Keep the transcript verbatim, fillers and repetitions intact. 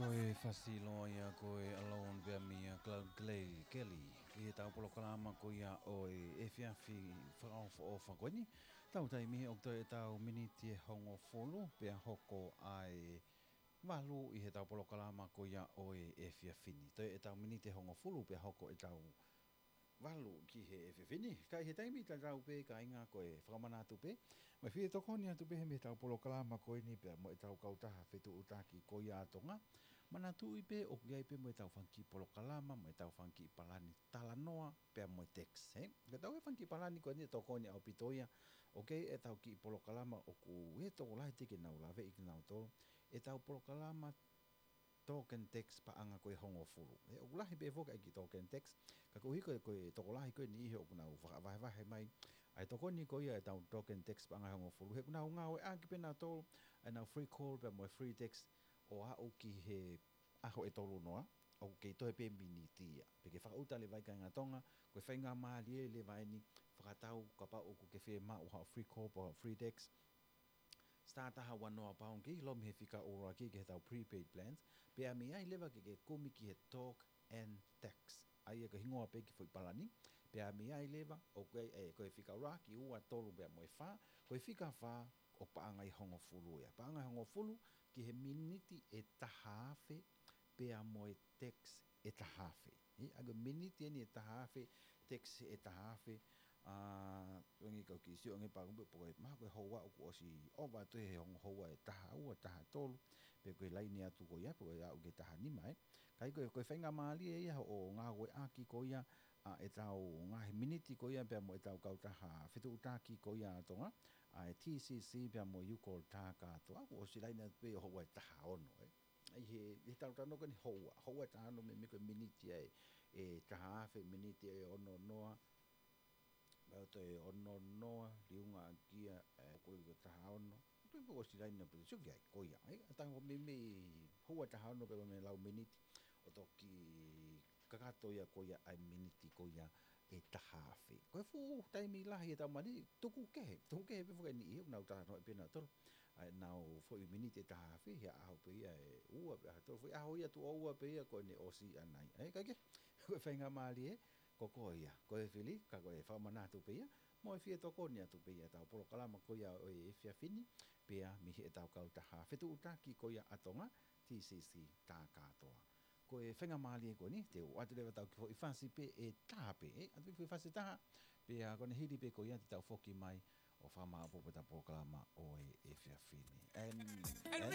Ko e fasi loa ia ko e Alone pea mei a Cloud Clay Kelly. ʻI heʻetau polokalama ko ia ʻo e efiafi fakaʻofoʻofa ko eni. Tau taimi ʻoku toe ʻetau miniti ʻe hongofulu pea hoko ʻa e valu ʻi heʻetau polokalama ko ia ʻo e efiafi ni. Toe ʻetau miniti ʻe hongofulu pea hoko ʻetau valu ki he efiafi ni. Ka ʻi he taimi tatau pē kāinga ko e fakamanatu pē, mo e fie tokoni atu pē he mei heʻetau polokalama ko eni pea mo ʻetau kautaha fetuʻutaki ko ia ʻa Tonga. Manatuʻi pē ʻoku ʻi ai pē mo ʻetau fanga kiʻi polokalama, mo ʻetau fanga kiʻi palani talanoa pea mo e tax, ē? Ka tau e fanga kiʻi palani ko eni ʻe tokoni ʻaupito ia, ʻoku ʻi ai ʻetau kiʻi polokalama ʻoku ʻi ai e tokolahi te ke nau laveʻi kinautolu, ʻetau polokalama token tax paʻanga ko e hongofulu. Ē, ʻoku lahi pē foki ʻa e kiʻi token tax, ka koeʻuhi ko e, ko e tokolahi ko e niʻihi ʻoku nau fakavahevahe mai ʻa e tokoni ko ia ʻetau token tax paʻanga hongofulu. He ʻoku nau ngāueʻaki pē nautolu ʻa ʻenau free call pea mo e free tax ʻo aʻu ki he ʻaho ʻe tolu noa, ʻoku kei toe pē miniti ia. Pea ke fakaʻuta leva ai kāinga Tonga, ko e faingamālie leva eni, fakatau kapau ʻoku ke fiemaʻu haʻo free call pea free tax, star taha ua noa pound kei lomi he fika ʻuluaki ki heʻetau prepaid plans, pea mei ai leva ke ke kumi ki he talk and text. ʻA ia ko e hingoa pē ki he foʻi palani, pea mei ai leva, ʻoku ʻi ai, ē, ko e fika ʻuluaki, ua, tolu pea mo e fā, ko e fika fā, ʻoku paʻanga ʻe hongofulu ia. Paʻanga ʻe hongofulu ki he miniti ʻe taha afe, pea mo e tax ʻe taha afe. Ē, ʻa ia ko e miniti eni ʻe taha afe, tax ʻe taha afe, ʻa, ʻoange kau kiʻi sio ange pā kupe po ko e maha ko e houa ʻoku ʻosi ʻova atu he hongo houa ʻe taha ua, taha tolu, pe ko e laine atu ko ia, pe ko e aʻu ki he taha nima, ē. Ka ʻi ai ko e, ko e faingamālie ia ʻo ngāueʻaki ko ia, ʻa ʻetau ngaahi miniti ko ia pea mo ʻetau kautaha fetuʻutaki ko ia ʻa Tonga, ʻa e T C C pea mo e Ucall Takatoa, ʻoku ʻosi laine atu pē ʻo houa ʻe taha ono, ē. ʻI he, ʻi he talanoa ko eni houa, houa ʻe taha ono meimei ko e miniti ʻe, ʻe taha afe, miniti ʻe ono noa, pea toe ono noa, liunga ʻaki ia, ē, ko e taha ono. Pea ʻoku ʻosi laine pē, sio ki ai, ko ia, ē, ʻa ia ko e meimei houa ʻe taha ono pē ko e meimei lau miniti, ʻo toki kakato ia ko ia ʻa e miniti ko ia ʻe taha afe. Ko e fuʻu taimi lahi ʻetau mali, tuku kehe, tuku kehe pē foki e niʻihi ʻoku nau talanoa pē nautolu ʻa ʻenau foʻi miniti ʻe taha afe, he ʻaho pē ia ʻe ua, pe ʻaho ʻe tolu, foʻi ʻaho ia tuʻo ua pē ia ko ʻene ʻosi ʻanai. Ē, ka ke, ko e faingamālie, ko koe ia, ko e fili, ka ko e fakamanatu pē ia, mo e fie tokoni atu pē ia ʻetau polokalama ko ia ʻo e efiafi ni, pea mei heʻetau kautaha fetuʻutaki ko ia ʻa Tonga, T C C Takatoa. Ko e faingamālie ko eni, te u ʻoatu leva ʻetau kiʻi foʻi fasi pē ʻe taha pē, ē, ʻoatu foʻi fasi ʻe taha, pea ko ʻene hili pē ko ia te tau foki mai ʻo fakamāʻopoʻopo ʻetau polokalama ʻo e efiafi ni. And, and